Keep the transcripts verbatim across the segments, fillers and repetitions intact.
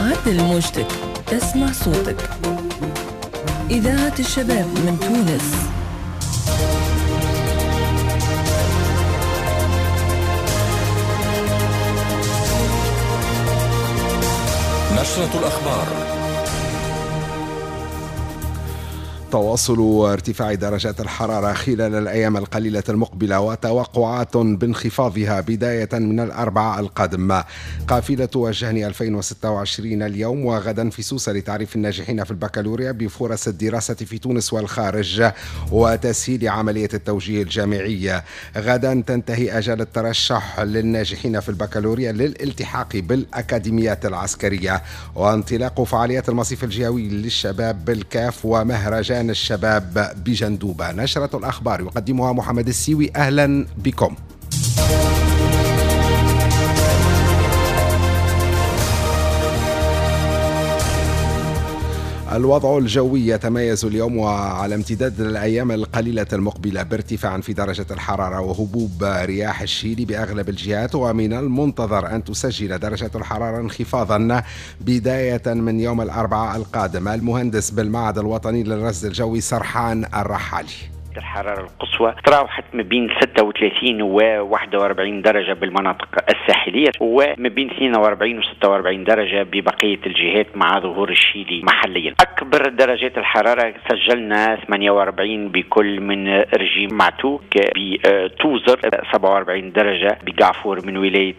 عدل موجتك تسمع صوتك. إذاعة الشباب من تونس. نشرة الأخبار. تواصل ارتفاع درجات الحرارة خلال الأيام القليلة المقبلة وتوقعات بانخفاضها بداية من الأربعاء القادم. قافلة وجهني ألفين وستة وعشرين اليوم وغدا في سوسة لتعريف الناجحين في البكالوريا بفرص الدراسة في تونس والخارج وتسهيل عملية التوجيه الجامعي. غدا تنتهي أجل الترشح للناجحين في البكالوريا للالتحاق بالأكاديميات العسكرية، وانطلاق فعاليات المصيف الجهوي للشباب بالكاف ومهرجان الشباب بجندوبة. نشرة الأخبار يقدمها محمد السيوي. أهلا بكم. الوضع الجوي يتميز اليوم وعلى امتداد الأيام القليلة المقبلة بارتفاع في درجة الحرارة وهبوب رياح الشيل بأغلب الجهات، ومن المنتظر أن تسجل درجة الحرارة انخفاضا بداية من يوم الأربعاء القادم. المهندس بالمعهد الوطني للرصد الجوي سرحان الرحالي: الحرارة القصوى تراوحت ما بين ستة وثلاثين و واحد وأربعين درجة بالمناطق الساحلية، وما بين اثنين وأربعين و ستة وأربعين درجة ببقية الجهات مع ظهور الشيلي محليا. أكبر درجات الحرارة سجلنا ثمانية وأربعين بكل من رجيم معتوك بتوزر، سبعة وأربعين درجة بقعفور من ولاية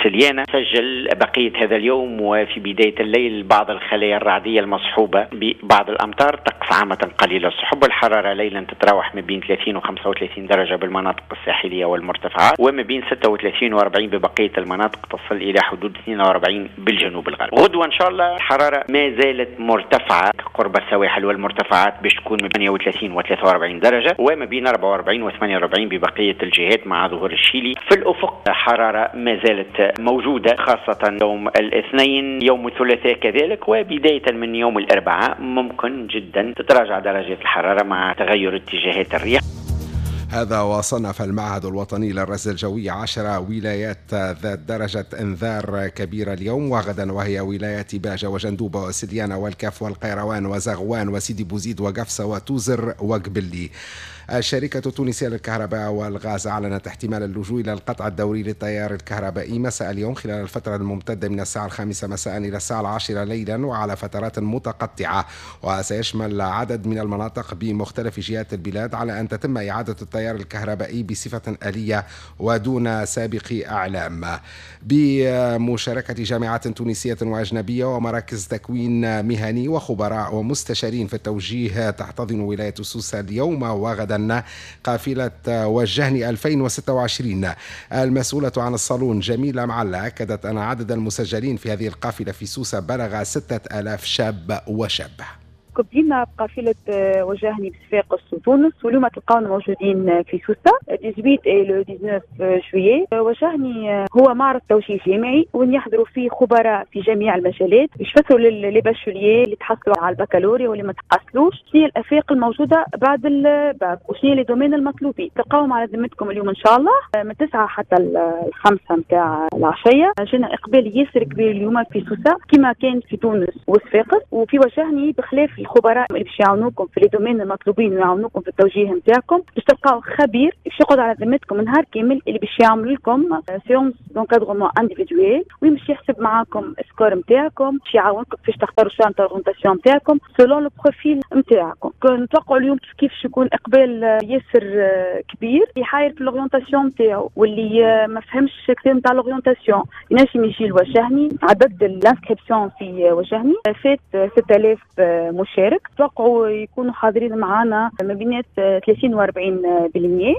سليانة. سجل بقية هذا اليوم وفي بداية الليل بعض الخلايا الرعدية المصحوبة ببعض الأمطار، طقس عامة قليل السحب. الحرارة ليلا تتراوح ما بين ثلاثين و خمسة وثلاثين درجة بالمناطق الساحلية والمرتفعات، وما بين ستة وثلاثين و أربعين ببقية المناطق، تصل إلى حدود اثنين وأربعين بالجنوب الغربي. غدوة إن شاء الله الحرارة ما زالت مرتفعة قرب السواحل والمرتفعات باش تكون من ثمانية وثلاثين و ثلاثة وأربعين درجة، وما بين أربعة وأربعين و ثمانية وأربعين ببقية الجهات مع ظهور الشيلي. في الأفق حرارة ما زالت موجودة خاصة يوم الاثنين، يوم الثلاثاء كذلك، وبداية من يوم الأربعاء ممكن جدا تتراجع درجات الحرارة مع تغير اتجاهات الرياح. هذا وصنف المعهد الوطني للرصد الجوي عشر ولايات ذات درجة انذار كبيرة اليوم وغدا، وهي ولايات باجة وجندوبة وسليانة والكاف والقيروان وزغوان وسيدي بوزيد وقفصة وتوزر وقبلي. الشركة التونسية للكهرباء والغاز أعلنت احتمال اللجوء إلى القطع الدوري للتيار الكهربائي مساء اليوم خلال الفترة الممتدة من الساعة الخامسة مساء إلى الساعة العاشرة ليلا وعلى فترات متقطعة، وسيشمل عدد من المناطق بمختلف جهات البلاد، على أن تتم إعادة التيار الكهربائي بصفة آلية ودون سابق إعلام. بمشاركة جامعات تونسية وأجنبية ومراكز تكوين مهني وخبراء ومستشارين في التوجيه، تحتضن ولاية سوسة اليوم وغدا قافلة وجهني ألفين وستة وعشرين. المسؤولة عن الصالون جميلة معلة أكدت أن عدد المسجلين في هذه القافلة في سوسة بلغ ستة آلاف شاب وشابة. بدينا بقافلة وجهني بصفاقس وتونس، واليوم تلقاونا موجودين في سوسة ثمانية عشر إلى تسعة عشر جويلية. وجهني هو معرض توجيه جامعي وين يحضروا فيه خبراء في جميع المجالات يشفتوا les bacheliers اللي تحصلوا على البكالوريا واللي ما تحصلوش، شنو هي الافاق الموجودة بعد الباك وشنو les domaines المطلوبين. تلقاوهم على ذمتكم اليوم ان شاء الله من تسعة حتى الخمسة نتاع العشية. جينا اقبال ياسر كبير اليوم في سوسة كما كان في تونس وصفاقس، وفي وجهني بخلاف الخبراء اللي باش يعاونوكم في les domaines المطلوبين ويعاونوكم في التوجيه نتاعكم، باش تلقاو خبير باش يقعد على ذمتكم نهار كامل اللي باش يعمل لكم séance d'encadrement individuel، وين باش يحسب معاكم ال score نتاعكم، باش يعاونكم كيفاش تختاروا choix نتاع l'orientation نتاعكم selon le profil نتاعكم. نتوقعوا اليوم كيف يكون اقبال ياسر كبير، اللي حاير في l'orientation نتاعو واللي ما فهمش كثير نتاع l'orientation ينجم يجي لوجهني. عدد l'inscription في وجهني فات ستة آلاف مشارك، توقعوا يكونوا حاضرين معنا ما بين ثلاثين وأربعين بالمئة.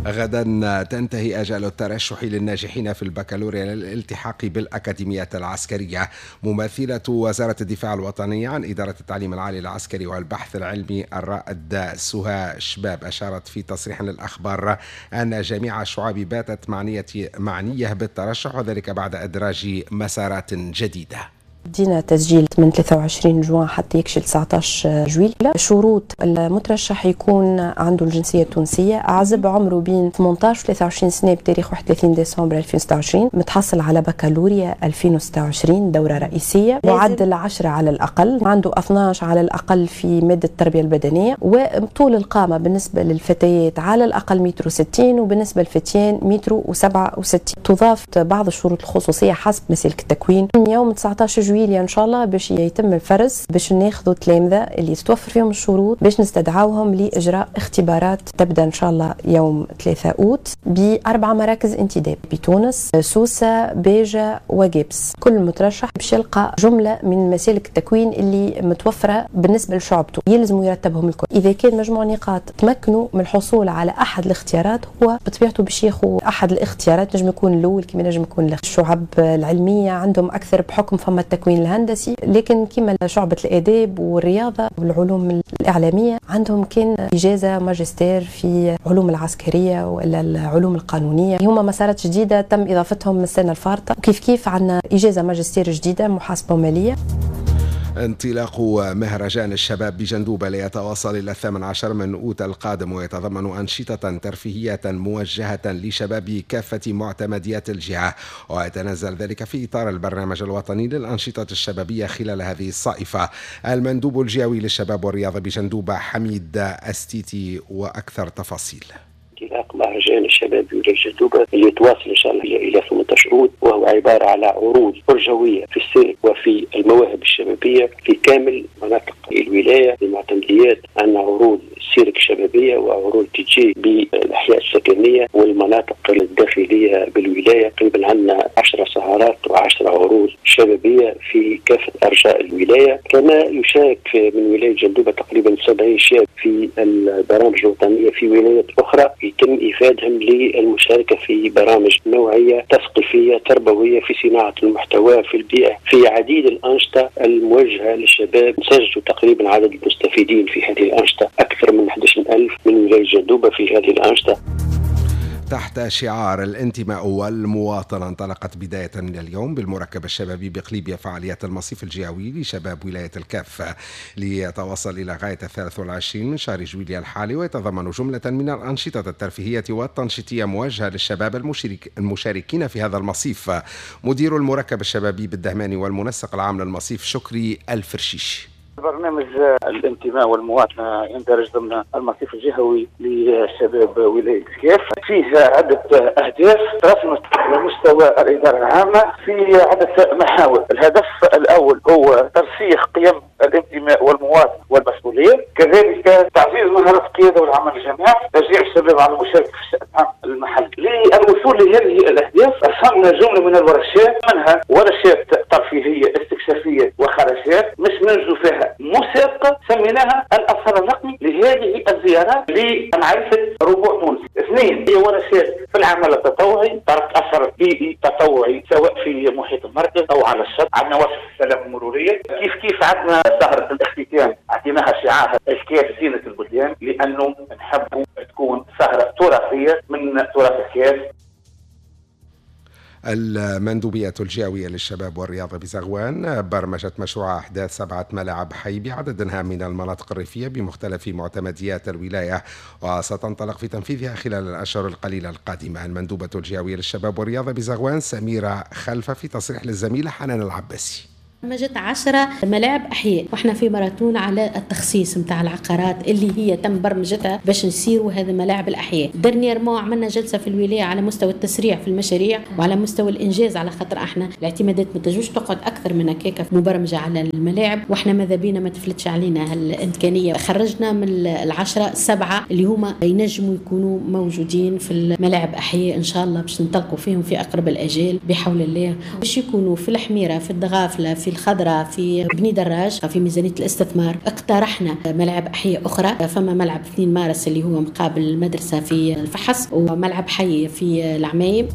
غدا تنتهي أجال الترشح للناجحين في البكالوريا للالتحاق بالأكاديميات العسكرية. ممثلة وزارة الدفاع الوطني عن إدارة التعليم العالي العسكري والبحث العلمي الرائد سهى شباب أشارت في تصريح للأخبار أن جميع الشعب باتت معنية, معنية بالترشح، وذلك بعد إدراج مسارات جديدة. بدينا تسجيل من ثلاثة وعشرين جوان حتى يكشل تسعة عشر جويلية. شروط المترشح يكون عنده الجنسية التونسية، عزب، عمره بين ثمانية عشر و ثلاثة وعشرين سنة بتاريخ واحد وثلاثين ديسمبر ألفين وستة وعشرين، متحصل على بكالوريا ألفين وستة وعشرين دورة رئيسية، معدل عشرة على الأقل، عنده اثناش على الأقل في مادة التربية البدنية، وطول القامة بالنسبة للفتيات على الأقل متر وستين، وبالنسبة للفتيان متر وسبعة وستين. تضاف بعض الشروط الخصوصية حسب مسالك التكوين. من يوم تسعة عشر جويلية ان شاء الله باش يتم الفرز، باش ناخذوا تلامذه اللي تتوفر فيهم الشروط باش نستدعوهم لاجراء اختبارات تبدا ان شاء الله يوم ثلاثة اوت باربع مراكز انتداب بتونس، سوسة، باجه وجبس. كل مترشح باش يلقى جملة من مسالك التكوين اللي متوفرة بالنسبة لشعبته، يلزم يرتبهم الكل. اذا كان مجموع نقاط تمكنوا من الحصول على احد الاختيارات، هو بطبيعته باش ياخذ احد الاختيارات، نجم يكون الاول كما نجم يكون الاخر. الشعب العلمية عندهم اكثر بحكم فما التكوين الهندسي، لكن كما شعبة الآداب والرياضة والعلوم الإعلامية عندهم كان إجازة ماجستير في علوم العسكرية ولا العلوم القانونية. هما مسارات جديدة تم إضافتهم من السنة الفارطة. وكيف كيف عندنا إجازة ماجستير جديدة محاسبة مالية. انطلاق مهرجان الشباب بجندوبة ليتواصل إلى الثامن عشر من أوت القادم، ويتضمن أنشطة ترفيهية موجهة لشباب كافة معتمديات الجهة، ويتنزل ذلك في إطار البرنامج الوطني للأنشطة الشبابية خلال هذه الصائفة. المندوب الجهوي للشباب والرياضة بجندوبة حميد أستيتي وأكثر تفاصيل. انطلاق مهرجان الشباب بولاية جندوبة اللي يتواصل ان شاء الله الى ثمانية عشر اوت، وهو عبارة على عروض فرجويه في السيرك وفي المواهب الشبابية في كامل مناطق الولاية. المعتمديات عندنا عروض سيرك شبابية وعروض دي جي بالاحياء السكنية والمناطق الداخلية بالولايه. تقريبا عندنا عشر سهرات وعشر عروض شبابية في كافة ارجاء الولاية. كما يشارك من ولاية جندوبه تقريبا سبعين شاب في البرامج الوطنية في ولايات اخرى، يتم إفادهم للمشاركة في برامج نوعية تثقيفية تربوية في صناعة المحتوى في البيئة، في عديد الأنشطة الموجهة للشباب. سجلوا تقريبا عدد المستفيدين في هذه الأنشطة أكثر من أحد عشر ألف من ولاية جندوبة في هذه الأنشطة. تحت شعار الانتماء والمواطنة انطلقت بداية من اليوم بالمركب الشبابي بقليبيا فعاليات المصيف الجهوي لشباب ولاية الكاف ليتواصل إلى غاية الثالث والعشرين من شهر جويلية الحالي، ويتضمن جملة من الأنشطة الترفيهية والتنشيطية موجهة للشباب المشارك المشاركين في هذا المصيف. مدير المركب الشبابي بالدهماني والمنسق العام للمصيف شكري الفرشيش. برنامج الانتماء والمواطنة يندرج ضمن المصيف الجهوي لشباب ولاية الكاف، فيه عدة أهداف رسمت على مستوى الإدارة العامة في عدة محاور. الهدف الأول هو ترسيخ قيم الانتماء والمواطنة والمسؤولية، كذلك تعزيز مهارات القيادة والعمل الجماعي، تشجيع الشباب على المشاركة في الشأن العام المحلي. للوصول لهذه الأهداف رسمنا جملة من الورشات، منها ورشات ترفيهية استكشافية وخرجات مش ننجو فيها مسابقة سميناها الأثر الرقمي لهذه الزيارات لمعرفة ربوع تونس. اثنين هي ورشات في العمل التطوعي، ترك أثر بيئي تطوعي سواء في محيط المركز أو على الشط. عندنا ورشة السلام المرورية، كيف كيف عندنا سهرة الاختتام اعطيناها شعارها الكاف زينة البلدان، لأنه نحب تكون سهرة تراثية من تراث الكاف. المندوبية الجهوية للشباب والرياضة بزغوان برمجت مشروع أحداث سبعة ملاعب حي بعدد هام من المناطق الريفية بمختلف معتمديات الولاية، وستنطلق في تنفيذها خلال الأشهر القليلة القادمة. المندوبة الجهوية للشباب والرياضة بزغوان سميرة خلفة في تصريح للزميلة حنان العباسي. برمجت عشرة ملاعب أحياء، واحنا في ماراثون على التخصيص نتاع العقارات اللي هي تم برمجتها باش نسيروا هذا ملاعب الأحياء. dernièrement عملنا جلسة في الولاية على مستوى التسريع في المشاريع وعلى مستوى الإنجاز، على خاطر احنا الاعتمادات ما تنجمش تقعد أكثر من هكاك مبرمجة على الملاعب، واحنا ماذا بينا ما تفلتش علينا هالإمكانية. خرجنا من العشرة سبعة اللي هما ينجموا يكونوا موجودين في الملاعب أحياء إن شاء الله باش ننطلقوا فيهم في أقرب الآجال بحول الله، باش يكونوا في الحميرة، في الدغافلة، في الخضراء، في بني دراج. في ميزانية الاستثمار اقترحنا ملاعب أحياء أخرى، فما ملعب اثنين مارس اللي هو مقابل المدرسة في الفحص، وملعب حي في العمايم.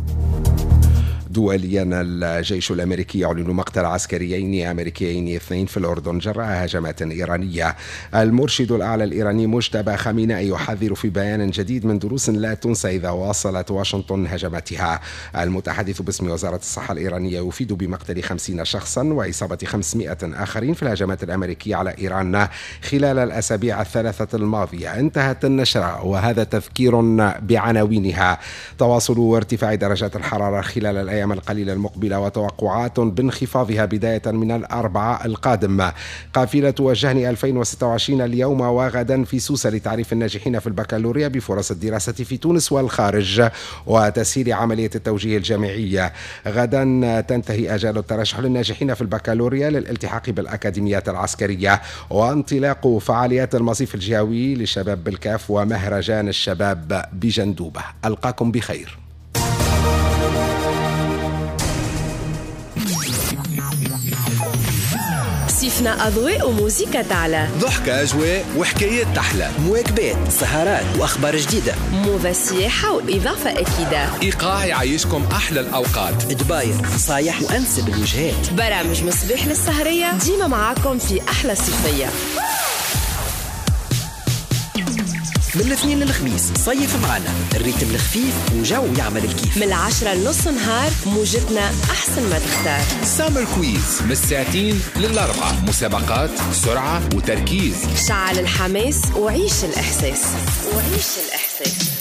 دوليا، الجيش الأمريكي يعلن مقتل عسكريين أمريكيين اثنين في الأردن جراء هجمات إيرانية. المرشد الأعلى الإيراني مجتبى خامنئي يحذر في بيان جديد من دروس لا تنسى إذا واصلت واشنطن هجماتها. المتحدث باسم وزارة الصحة الإيرانية يفيد بمقتل خمسين شخصا وإصابة خمسمائة آخرين في الهجمات الأمريكية على إيران خلال الأسابيع الثلاثة الماضية. انتهت النشرة وهذا تذكير بعناوينها. تواصل ارتفاع درجات الحرارة خلال الأيام القليلة المقبلة وتوقعات بانخفاضها بداية من الأربعاء القادم. قافلة وجهني ألفين وستة وعشرين اليوم وغدا في سوسة لتعريف الناجحين في البكالوريا بفرص الدراسة في تونس والخارج وتسهيل عملية التوجيه الجامعية. غدا تنتهي أجال الترشح للناجحين في البكالوريا للالتحاق بالأكاديميات العسكرية. وانطلاق فعاليات المصيف الجهوي للشباب بالكاف ومهرجان الشباب بجندوبة. ألقاكم بخير. صيفنا أضواء وموسيقى تعلى، ضحكة أجواء وحكايات تحلى، مواكبات، سهرات وأخبار جديدة، موضة سياحة وإضافة أكيدة، إيقاع يعيشكم أحلى الأوقات، دباير نصايح وأنسب الوجهات، برامج مصباح للسهرية، ديما معاكم في أحلى صيفية. من الاثنين للخميس صيف معنا ال rythme الخفيف وجو يعمل الكيف، من العشرة لنص نهار موجتنا أحسن ما تختار. summer quiz من الساعتين للأربعة، مسابقات، سرعة وتركيز، شعل الحماس وعيش الإحساس وعيش الإحساس.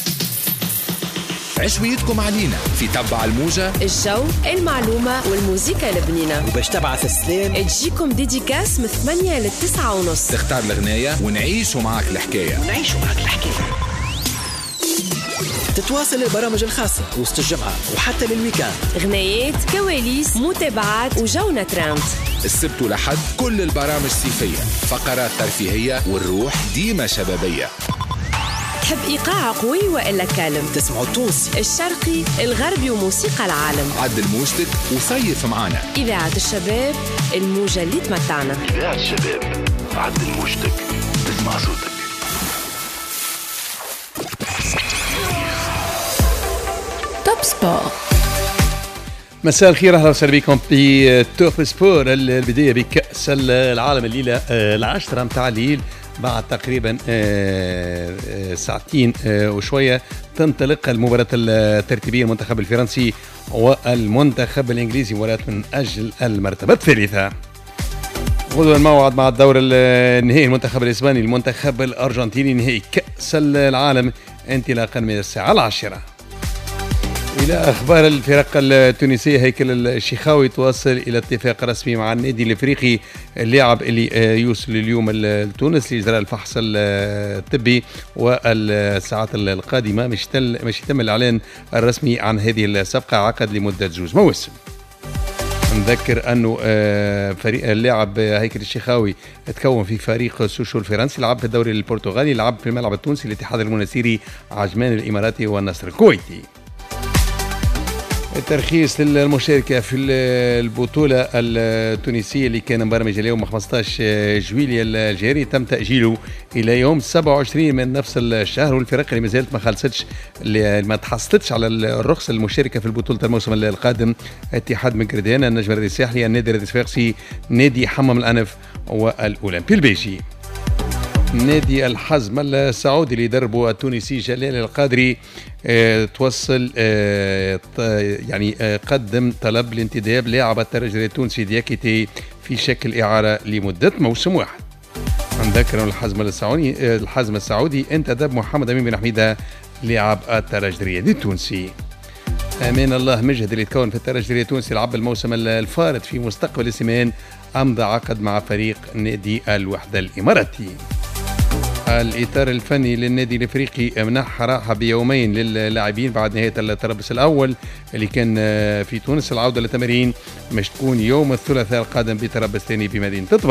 عشويتكم علينا في تبع الموجة، الجو، المعلومة والموسيقى البنينة. وباش تبعث السلام تجيكم dédicace من ثمانية للتسعة ونص، تختار الغناية ونعيشوا معك الحكاية ونعيشوا معك الحكاية. تتواصل البرامج الخاصة وسط الجمعة وحتى لل week-end، غنايات، كواليس، متابعات وجونا ترند. السبت ولحد كل البرامج صيفية، فقرات ترفيهية والروح ديما شبابية. تحب إيقاع قوي وإلا calme؟ تسمعوا التونسي، الشرقي، الغربي وموسيقى العالم. عدل موجتك وصيف معانا. إذاعة الشباب، الموجة اللي تمتعنا. إذاعة الشباب، عدل موجتك، تسمع صوتك. Top Sport. مساء الخير، اهلا وسهلا بكم في Top Sport. البداية بكأس العالم الليلة العشرة متاع الليل، بعد تقريبا ساعتين وشوية تنطلق المباراة الترتيبية، المنتخب الفرنسي والمنتخب الإنجليزي، مباراة من أجل المرتبة الثالثة. غدوة الموعد مع الدور النهائي، المنتخب الإسباني المنتخب الأرجنتيني، نهائي كأس العالم انطلاقا من الساعة العاشرة. إلى أخبار الفرق التونسية، هيكل الشيخاوي تواصل إلى اتفاق رسمي مع النادي الإفريقي، اللاعب اللي يوصل اليوم لتونس لإجراء الفحص الطبي، والساعات القادمة مش مش يتم الإعلان الرسمي عن هذه الصفقة، عقد لمدة جوج مواسم. نذكر أنه فريق اللاعب هيكل الشيخاوي تكون في فريق سوشو الفرنسي، لعب في الدوري البرتغالي، لعب في الملعب التونسي، الاتحاد المنستيري، عجمان الإماراتي والنصر الكويتي. الترخيص للمشاركة في البطولة التونسية اللي كان مبرمج اليوم خمسة عشر جويلية الجاري تم تأجيله إلى يوم سبعة وعشرين من نفس الشهر، والفرق اللي مازالت ما خلصتش اللي ما تحصلتش على الرخصة المشاركة في البطولة الموسم القادم: اتحاد مكردان، النجم الرياضي الساحلي، النادي الرياضي الصفاقسي، نادي حمام الأنف والأولمبي البيجي. نادي الحزم السعودي اللي دربه التونسي جلال القادري اه توصل اه يعني اه قدم طلب لانتداب لاعب الترجي التونسي دياكيتي في شكل إعارة لمدة موسم واحد. نذكر الحزم السعودي الحزم السعودي انتدب محمد أمين بن حميدة لاعب الترجي التونسي. أمان الله مجهد اللي تكون في الترجي التونسي لعب الموسم الفارط في مستقبل السمان، أمضى عقد مع فريق نادي الوحدة الإماراتي. الإطار الفني للنادي الإفريقي منح راحة بيومين للاعبين بعد نهاية التربص الأول اللي كان في تونس. العودة للتمارين مش تكون يوم الثلاثاء القادم بتربص ثاني بمدينة طبرقة.